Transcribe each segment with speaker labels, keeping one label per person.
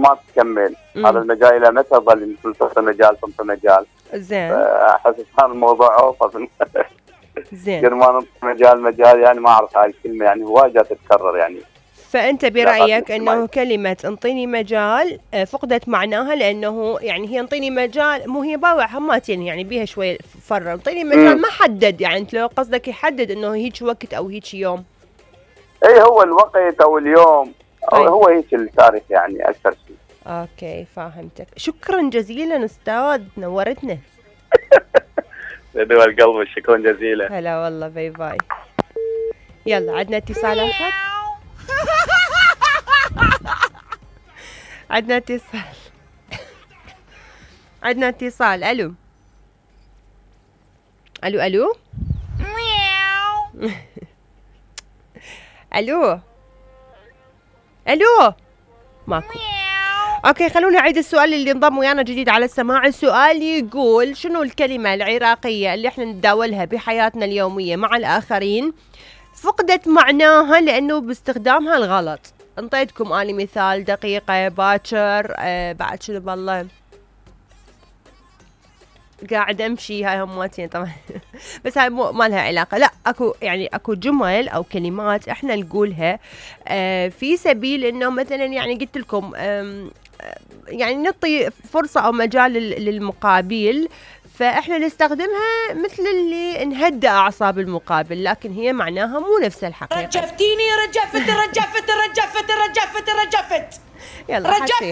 Speaker 1: ما تكمل. هذا المجال الى متى ظل تنطي مجال تنطي مجال؟
Speaker 2: زين.
Speaker 1: احس هذا الموضوع اوفر.
Speaker 2: زين.
Speaker 1: كل ما ننطي مجال يعني ما اعرف هاي الكلمه يعني هواي جات تتكرر يعني.
Speaker 2: فأنت برأيك أنه كلمة انطيني مجال فقدت معناها، لأنه يعني هي انطيني مجال مو هي باوع هماتين يعني بيها شوية فرة. انطيني مجال ما حدد، يعني انت لو قصدك يحدد أنه هيك وقت أو هيك يوم.
Speaker 1: اي هو الوقت أو اليوم أو هو هيك التاريخ يعني أكثر شيء.
Speaker 2: أوكي فهمتك. شكرا جزيلا أستاذ، نورتنا.
Speaker 1: بدو القلب، شكرا جزيلا.
Speaker 2: هلا والله، باي باي. يلا عندنا اتصال آخر. عندنا اتصال. عندنا اتصال. الو الو الو الو الو ماكو. اوكي خلونا نعيد السؤال اللي انضم ويانا جديد على السماع. السؤال يقول شنو الكلمة العراقية اللي احنا نتداولها بحياتنا اليومية مع الآخرين فقدت معناها لأنه باستخدامها الغلط؟ انطيتكم اني مثال دقيقة، باكر، بعد شنو بالله قاعد امشي، هاي هماتين طبعا. بس هاي ما لها علاقة. لا اكو يعني اكو جمل او كلمات احنا نقولها في سبيل انه مثلا يعني قلت لكم يعني نعطي فرصة او مجال للمقابل، فاحنا نستخدمها مثل اللي نهدأ اعصاب المقابل، لكن هي معناها مو نفس الحقيقة.
Speaker 3: رجفتيني رجفت
Speaker 2: يلا
Speaker 3: رجفت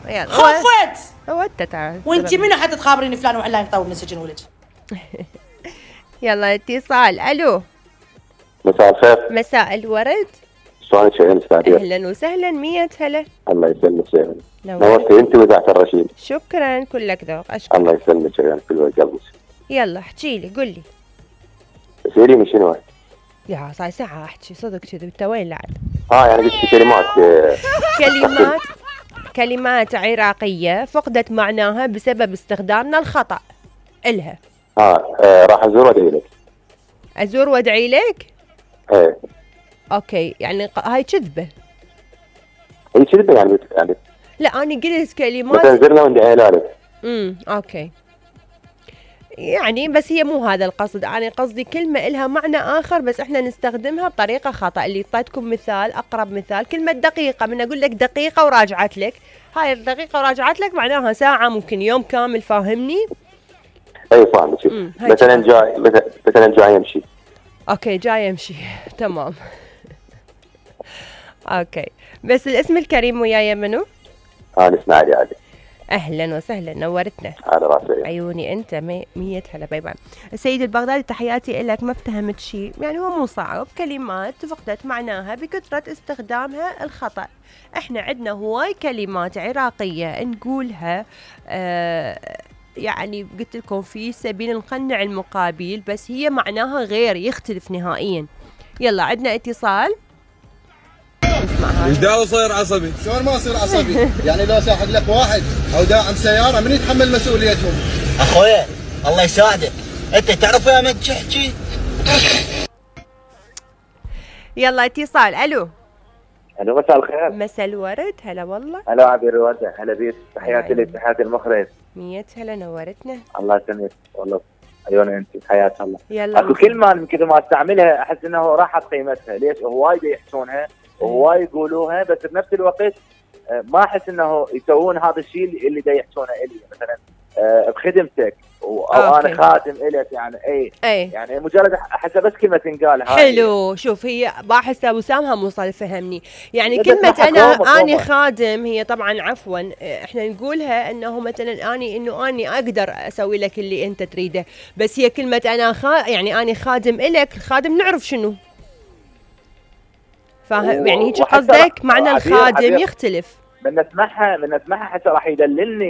Speaker 2: يلا
Speaker 3: خفت.
Speaker 2: هو انت تعال
Speaker 3: وانت منو حتى تخابريني فلان وعلان يطول من السجن ولد؟
Speaker 2: يلا اتصال. الو
Speaker 1: مساء الخير.
Speaker 2: مساء الورد.
Speaker 1: شلونك يا استاذ؟
Speaker 2: اهلا وسهلا، 100 هلا.
Speaker 1: الله يسلمك يا
Speaker 2: نورتي
Speaker 1: انت وذاك الرشيد.
Speaker 2: شكرا كلك ذوق. اشكرك.
Speaker 1: الله يسلمك يا كل قلبك.
Speaker 2: يلا احكي لي، قل لي.
Speaker 1: سيريني شنو؟
Speaker 2: يا صار ساعة احكي صدق كذا، انت وين لعد؟
Speaker 1: يعني قلت كلمات
Speaker 2: كلمات عراقية فقدت معناها بسبب استخدامنا الخطأ إلها.
Speaker 1: راح ازور وادعي لك.
Speaker 2: ازور وادعي لك؟
Speaker 1: ايه.
Speaker 2: اوكي يعني هاي كذبة.
Speaker 1: هي كذبة يعني
Speaker 2: لا انا قلت كلمات
Speaker 1: مثلا زرنا وندعي لك.
Speaker 2: اوكي يعني بس هي مو هذا القصد. أنا قصدي كلمة إلها معنى آخر بس إحنا نستخدمها بطريقة خطأ. اللي اعطيتكم مثال، أقرب مثال كلمة دقيقة. من أقول لك دقيقة وراجعت لك، هاي الدقيقة وراجعت لك معناها ساعة، ممكن يوم كامل. فاهمني؟
Speaker 1: أي فاهمك. مثلا جاي يمشي.
Speaker 2: أوكي جاي يمشي. تمام. أوكي بس الاسم الكريم وياي منو؟
Speaker 1: أنا اسماعيل عادي.
Speaker 2: اهلا وسهلا، نورتنا.
Speaker 1: على راسي.
Speaker 2: عيوني انت 100 هلا. باي باي. السيد البغدادي تحياتي لك. ما افتهمت شيء يعني، هو مو صعب. كلمات فقدت معناها بكثرة استخدامها الخطأ. احنا عندنا هواي كلمات عراقية نقولها يعني قلت لكم في سبيل نقنع المقابل، بس هي معناها غير، يختلف نهائيا. يلا عندنا اتصال.
Speaker 4: دا صير عصبي.
Speaker 5: شلون ما اصير عصبي؟ يعني لو ساحق لك واحد او داعم سياره من يتحمل مسؤوليتهم؟
Speaker 6: اخويا الله يساعدك، انت تعرف يا من تحكي.
Speaker 2: يلا اتصال. الو
Speaker 1: مساء الخير.
Speaker 2: مساء الورد. هلا والله.
Speaker 1: هلا عبير الوردة. هلا بيك. تحياتي لك، تحياتي المخرج.
Speaker 2: 100 هلا، نورتنا.
Speaker 1: الله يسلمك والله. عيوني انت، حياة الله.
Speaker 2: يلا
Speaker 1: اكو كلمة من كثر ما استعملها احس انه راحت قيمتها. ليش؟ هواي يحسونها وهواي يقولوها، بس بنفس الوقت ما احس انه يسوون هذا الشيء اللي دا يحسونه الي. مثلا بخدمتك او انا خادم الك يعني. اي يعني مجرد احس بس كلمه تنقال هاي.
Speaker 2: حلو. شوف هي باحثه وسامها موصل فهمني يعني. كلمه اني خادم هي طبعا عفوا احنا نقولها انه مثلا اني اقدر اسوي لك اللي انت تريده، بس هي كلمه انا يعني اني خادم الك. الخادم نعرف شنو فاهم يعني. هيك قصدك؟ معنى الخادم يختلف.
Speaker 1: من نسمعها حتى راح يدللني